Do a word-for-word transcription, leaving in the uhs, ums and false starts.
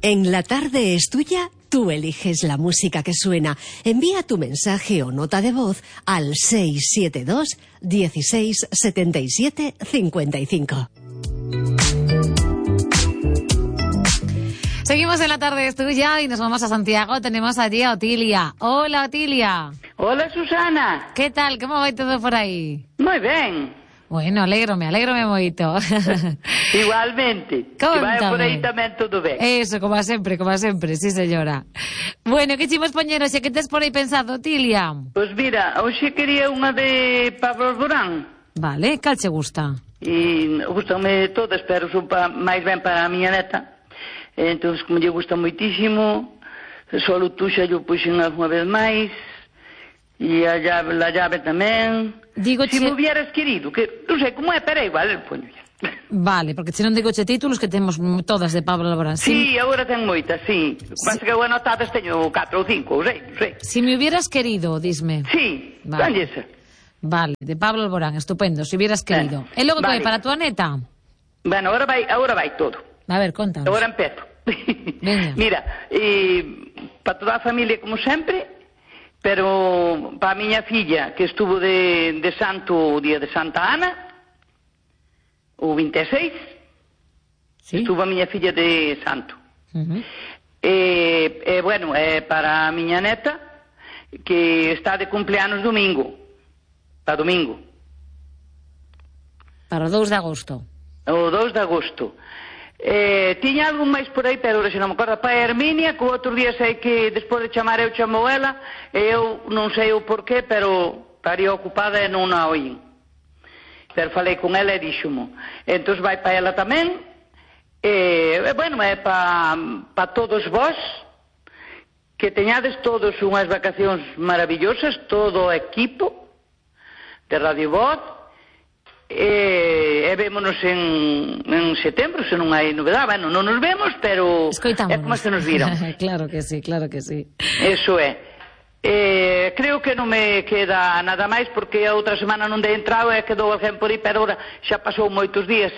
En La Tarde es Tuya, tú eliges la música que suena. Envía tu mensaje o nota de voz al seis siete dos, dieciséis, setenta y siete, cincuenta y cinco. Seguimos en La Tarde es Tuya y nos vamos a Santiago. Tenemos allí a Otilia. Hola, Otilia. Hola, Susana. ¿Qué tal? ¿Cómo va todo por aí? Moi ben. Bueno, alégrome, alégrome moito. Igualmente. Contame. Que vai por aí tamén todo ben. Eso, como sempre, como sempre, sí señora. Bueno, que chimos poñer hoxe? Que tes por aí pensado, Otilia? Pois mira, hoxe quería unha de Pablo Alborán. Vale, cal che gusta? E gustame todas, pero son pa, máis ben para a miña neta. Entón, como lle gusta moitísimo, solo tú xa yo puxen alguna vez máis. E a llave, la llave tamén. Digo si che... me hubieras querido, que non sei como é, pero é igual, el poño. Vale, porque se non digo che títulos que temos todas de Pablo Alborán. Sí, si... agora ten moitas, sí. Pasa sí. Que eu anotadas teño catro ou cinco, ou sei, non sei. Si me hubieras querido, disme. Sí, vale. Esa. Vale, de Pablo Alborán, estupendo, si hubieras querido. Eh, e logo vale. Que para tua neta? Bueno, agora vai, agora vai todo. A ver, contanos. Agora empezo. Mira, eh, para toda a familia como sempre. Pero para a miña filla, que estuvo de, de santo o día de Santa Ana, o vinte e seis, ¿sí? Estuvo a miña filla de santo. Uh-huh. E, e, bueno, é para a miña neta, que está de cumpleanos domingo, para domingo. Para o dous de agosto. O dous de agosto. Eh, tiña algo máis por aí, pero se non me acordo, para Herminia, que o outro día sei que despois de chamar eu chamou ela, e eu non sei o porqué, pero estaría ocupada e non a oín. Pero falei con ela e díxomo. Entón vai para ela tamén, e, bueno, é para pa todos vós, que teñades todos unhas vacacións maravillosas, todo o equipo de Radio Voz. E, e vémonos en, en setembro, se non hai novedade. Bueno, non nos vemos, pero escoitámonos. É como se nos viron. Claro que sí, claro que sí. Eso é. E, creo que non me queda nada máis, porque a outra semana non dei entrado e quedou alguén por aí, pero ahora xa pasou moitos días